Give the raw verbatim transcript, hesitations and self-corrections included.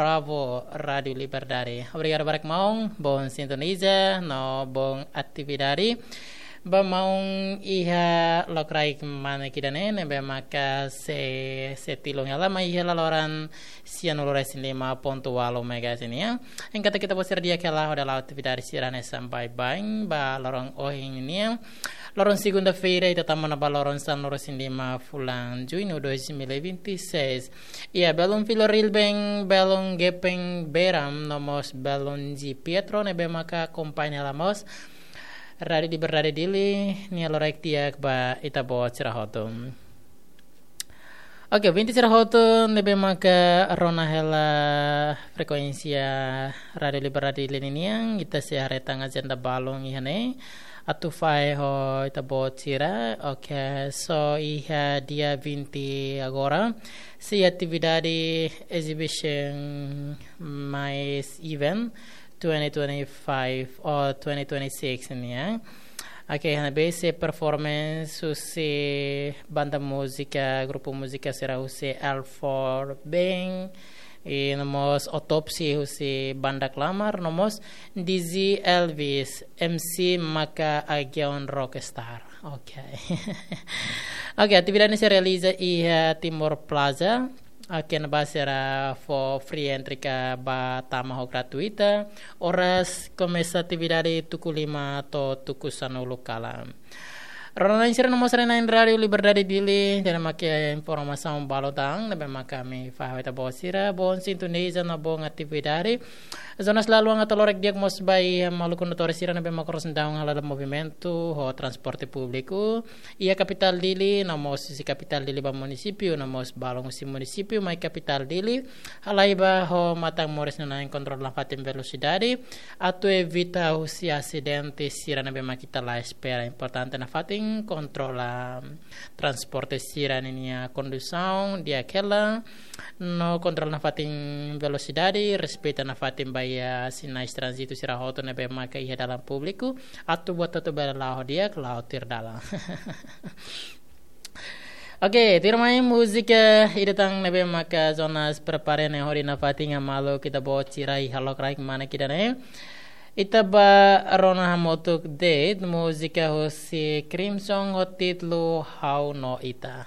Bravo, Rádiu Liberdade. Obrigadu barak maun, boa sintoniza, no boa atividade. Ba maun iha lokraik manek ida-ne'e, ne'ebé maka sei, sei tilun hela mai iha laloran sianulu-resin-lima pontu ualu megahertz nian. Enkuantu ita-boot sira di'ak hela hodi hala'o atividade sira-ne'e sampai baibain, ba loron ohin nian. Loron segunda-feira, ita tama ona ba loron sanulu-resin-lima fulan Juñu dois mil e vinte e seis. Iha belun Filho Rilben, belun Gepeng Beram, no mós belun Ji Pietro, ne'ebé maka akompaña hela mós Rádiu Liberdade Dili nia lokraik di'ak ba ita-boot sira hotu. Oke, ouvinte sira hotu ne'ebé maka rona hela frekuénsia Rádiu Liberdade Dili ninian, ita sei haree tan ajenda balun iha ne'e atu fahe ho ita-boot sira. Oke, so iha dia vinte agora, sei atividade exhibition mais event twenty twenty-five ou twenty twenty-six nian. Oke, iha ne'ebé sei performance husi banda múzika, grupu múzika sira husi L four Band, i no mós Autopsy husi banda Klamar, no mós D J Elvis, M C maka Agion Rockstar. Oke. Oke, atividade ne'e sei realiza iha Timor Plaza. Oke, ne'ebá sira fó free entry ka ba tama ho gratuita. Oras komesa atividade tuku lima to'o tuku sanulu kalan. Rona-na'in sira no mós haree-na'in Rádiu Liberdade Dili, ida-ne'e maka informasaun balu tan ne'ebé maka ami fahe ba ita-boot sira, boa sintoniza no boa atividade. Jonas Laluang atu lokraik di'ak mós ba iha maluk kondutór sira ne'ebé maka oras ne'e daudaun hala'o movimentu ho transporte públiku iha kapitál Dili, no mós husi kapitál Dili ba munisípiu, no mós balun husi munisípiu mai kapitál Dili, halai ba ho matan-moris no na'in kontrola nafatin velosidade, atu evita husi asidente sira ne'ebé maka ita la espera. Importante nafatin kontrola transporte sira ninia kondusaun di'ak hela, no kontrola nafatin velosidade, respeita nafatin ba iha sinais tránzitu sira hotu ne'ebé maka iha dalan públiku, atu buat hotu bele la'o di'ak, la'o tuir dalan. Oke, tuirmai múzika ida tan ne'ebé maka Jonas prepara ne'e hodi nafatin hamaluk ita-boot sira iha lokraik manek ida-ne'e. Ita bá rona hamutuk de'it múzika husi Crimson ho títulu Ha'u no Ita.